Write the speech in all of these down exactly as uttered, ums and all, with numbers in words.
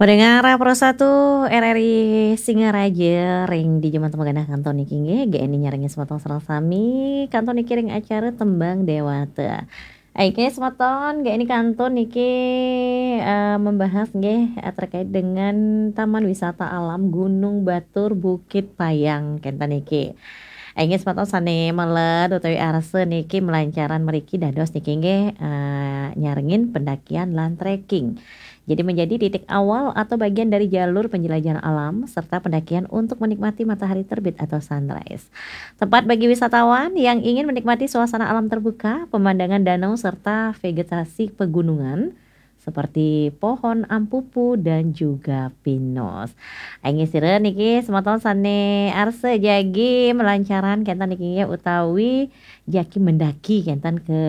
Pendengar Pro satu R R I Singaraja, ring dija manten magenah kantun niki nggih, G N I nyarengin semeton sareng sami, kantun niki ring acara Tembang Dewata. Aike semeton, G N I kantun niki, eh, membahas nggih, eh, terkait dengan Taman Wisata Alam Gunung Batur Bukit Payang, kenten niki. Aike semeton sane meled utawi arsa niki melancaran mriki dados niki nggih, eh, nyarengin pendakian lan trekking. Jadi menjadi titik awal atau bagian dari jalur penjelajahan alam serta pendakian untuk menikmati matahari terbit atau sunrise. Tempat bagi wisatawan yang ingin menikmati suasana alam terbuka, pemandangan danau serta vegetasi pegunungan seperti pohon ampupu dan juga pinus. Aing sira niki semeton sane arsa jagi melancaran kenten niki nggih utawi jagi mendaki kenten ke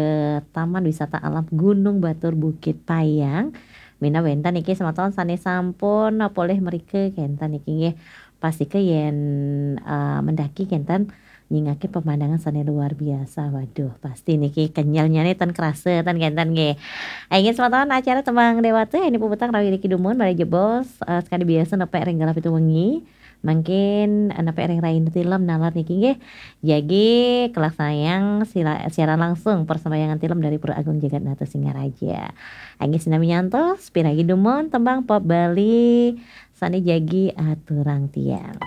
Taman Wisata Alam Gunung Batur Bukit Payang. Minab wenten niki semeton sane sampun polih mrika kenten niki nggih. Pastika yen, eh, mendaki kenten nyingakin pemandangan sane luar biasa. Waduh, pasti niki kenyelnyane ten kerasa ten kenten nggih. Aing semeton acara Tembang Dewata ini puputang rawi niki dumun malih jebos, eh, sekadi biasa nepek ring galah pitu wengi. Mangkin, eh, nepek ring raina tilem nalar niki nggih. Jagi kelaksanayang sila-, siaran langsung persembahyangan tilem dari Pura Agung Jagat Nata Singaraja. Aing sinami nyantos, piragi dumun tembang pop Bali sane jagi aturang tiang.